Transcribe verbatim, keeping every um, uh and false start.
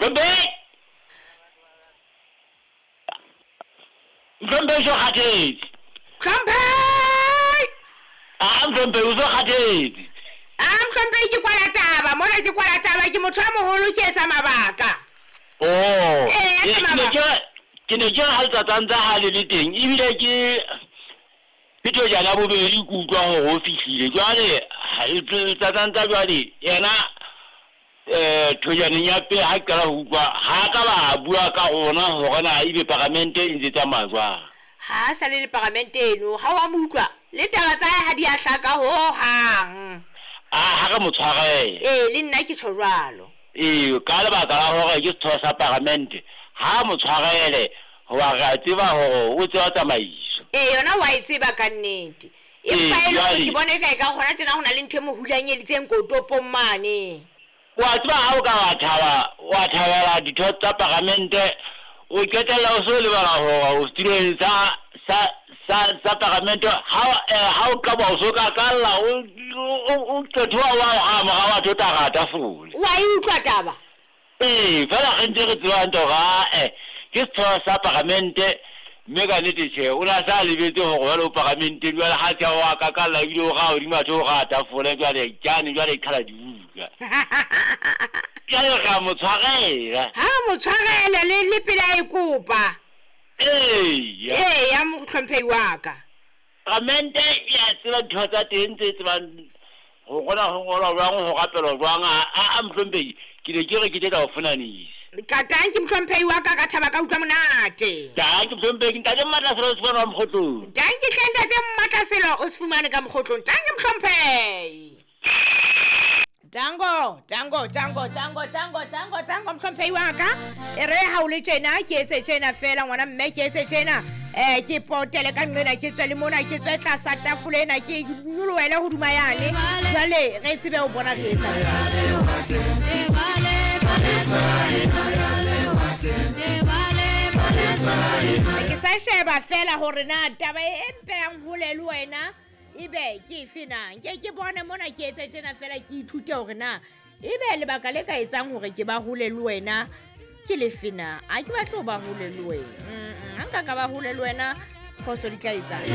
Mhlomphehi. Mhlomphehi so kgathetse. Mhlomphehi. Ah, Mhlomphehi o so kgathetse. Ah, Mhlomphehi ke kwala taba, mona ke kwala taba, ke motho a moholo ke etsa mabaka. Oh. Eh, ke ne ke ke ne ke re ha letsatsang tsa ha le le teng ebile ke ke thojana bobedi ke utlwa hore o fihlile. Jwale letsatsang tsa jwale yena eh thojaneng ya pele ha ke qala ho utlwa ha ka ba bua ka rona hore na ebe paramente e ntse tsamaya jwang. Ha sa le le paramente eno, ha wa mo utlwa le taba tsa hae ha di a hlaka hohang. Ah, ha re mo tshwarele. Eh, le nna ke tjho jwalo. Ee, ka lebaka la hore ke setho sa paramente, ha mo tshwarele hoba re a tseba hore o tseba tsamaiso. Eh, yona wa e tseba ka nnete. Empa Ee, e le hore jwale ke bona eka e ka hona tjena ho na le ntho e mo hulanyeditseng kotopong mane. Wa tseba ha o ka wa thaba, wa thabela ditho tsa paramente, o qetella o so lebala hore o setulong sa sa sa sa paramente ha eh, ha o ka ba o so ka kalla o o o qethoa wa o ha mora wa thota ra tafole. Wa e utlwa taba? Ee, fela re ntse re tseba hantle hore ah, eh, ke setho sa paramente mme ka nnete tjhe o na sa lebetse hore jwale o paramenteng jwale ha tjha wa kakalla ebile o ra hodima tho o ra tafole jwale jane jwale qhala dibuka. Jwale re a mo tshwarela. Ha re mo tshwarele le le pele a e kopa. Ee. Ee, ya mohlomphehi wa ka. Paramente e a tseba dintho tsa teng tse tsebang ho rona ho ngolwa jwang ho rapelwa jwang. A a mohlomphehi ke ne ke re ke tla o fonanisa. Ka tanki mohlomphehi wa ka ka thaba ka utlwa monate. Tanki mohlomphehi ntate Mmatlaselo o se fumane wa Mokgotlong. Tanki hle ntate Mmatlaselo o se fumane ka Mokgotlong. Tanki mohlomphehi. Tango, tango, tango, tango, tango, tango, tango mohlomphehi wa ka. E re ha o le tjena ke etse tjena fela ngwana mme ke etse tjena. Eh ke potele ka nqena ke tswe le mona ke tswe tlasa tafole ena ke nyolohele hodima yane. Jwale re tsebe ho bona re etsa. Ke sa sheba fela hore na taba e mpehang hole le wena ebe ke efe na. Nke ke bone mona ke etse tjena fela ke ithute hore na ebe lebaka le ka etsang hore ke ba hole le wena ke lefe na. A ke batle ho ba hole le wena. Mm, ha nka ka ba hole le wena phoso di tla etsang.